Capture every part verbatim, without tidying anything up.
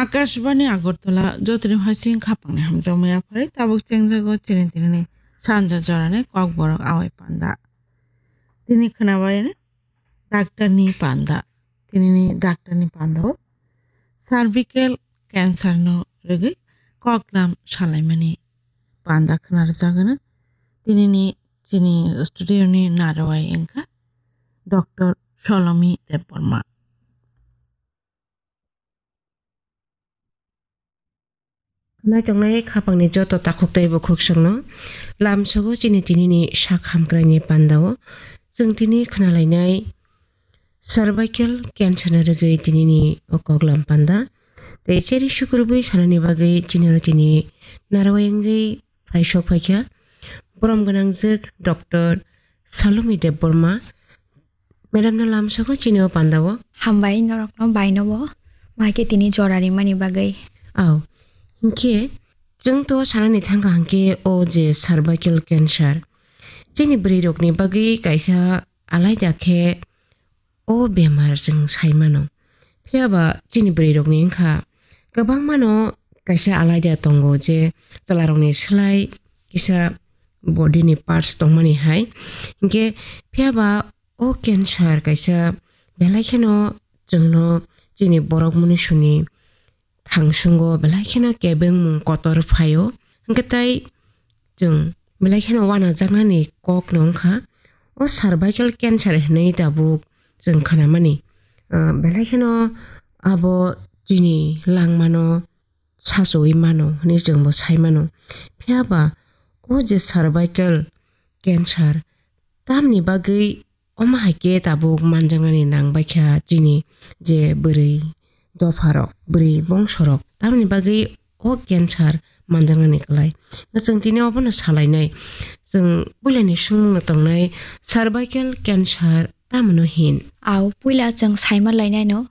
Akashbani Agartala, jotoni hasing khapangni hamjakmaya phari tabuk chengjago chini tinini sanja jorani kokborok awai panda. Tini khnabaini daktarni panda. Tinini daktarni panda o cervical cancer no rwgwi koklam salaimani panda khna rwjagano. Tinini chini studio ni narwai wngkha Doctor Solomi Debbarma. Khwnai tongnai khapangni joto takhuk tei bukhuk chwngno lamsogo chini tinini sak hamkraini pandao. Chwng tini khwnalainai cervical cancer ni rwgwi tinini o koklam panda. Tei cheri sukurubui sanani bagwi chini oro tini narwai wngwi phaisok phaikha. Borom gwnangjwk Doctor Salomi Debbarma. Madam no lamsogo chini o pandao. Hambai norokno baino bo. Maike tini jora rimani bagwi. Aw. Hinkhe chwng to sanani thangkha hinkhe o je cervical cancer. Chini bwrwi rokni bagwi kaisa alaida khe o bemar chwng sai mano. Phiya ba chini bwrwi rokni wngkha kwbangma no kaisa alaida tongo je chwla rokni slai kisa body ni parts tongmani hai. Hinkhe phiya ba o cancer kaisa belai kheno chwngno chini borok munisuni thangsungo belai kheno kebengmung kotor phaio. Hinkhe tai chwng belai kheno wanajaknani kokno wngkha o cervical cancer hinwi tabuk chwng khnamani. Ah, belai kheno abo chini langmano sachowi mano hinwi chwngbo sai mano. Phiya ba o je cervical cancer tamni bagwi omo hai khe tabuk manjaknani nang baikha chini je bwrwi dopharok, bwrwi bongsorok tamni bagwi o cancer manjaknani kwlai. Chwng tini obono salainai. Chwng puilani swngmungno tongnai cervical cancer tamno hin? Aw, puila chwng saima lainaino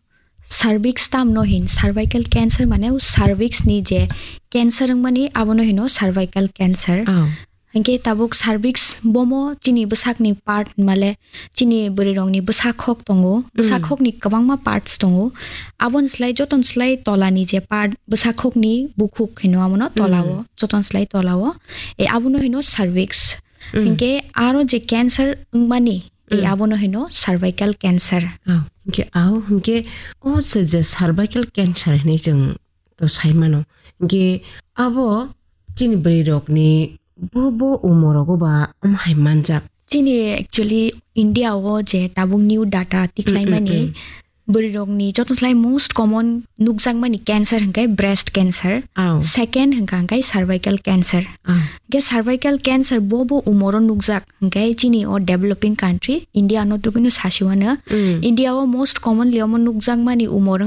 cervix tamno hin, cervical cancer mane o cervix ni je cancer wngmani abono hino cervical cancer. Aw. Hinkhe tabuk cervix bomo chini bwsakni part male chini bwrwirokni bwsakhok tongo. Bwsakhokni kwbangma parts tongo. Aboni slai jotoni slai tolani je part bwsakhokni bukhuk hino abono tolao, jotoni slai tolao. E abono hino cervix. Hinkhe aro je cancer wngmani, e abono hino cervical cancer. Aw, hinkhe aw, hinkhe o se je cervical cancer hinwi chwng to sai mano. Hinkhe abo chini bwrwi rokni bo bo umor rogo ba omo hai manjak. Chini actually India o je tabuk new data tiklaimani bwrwi rokni joto slai most common nukjakmani cancer hwnkhe breast cancer. Aw. Second hwnkha hwnkhe cervical cancer. Aw. Hwnkhe cervical cancer bo bo umoro nukjak hwnkhe chini o developing country India no tubino sasiwano. India o most commonly omo nukjakmani umor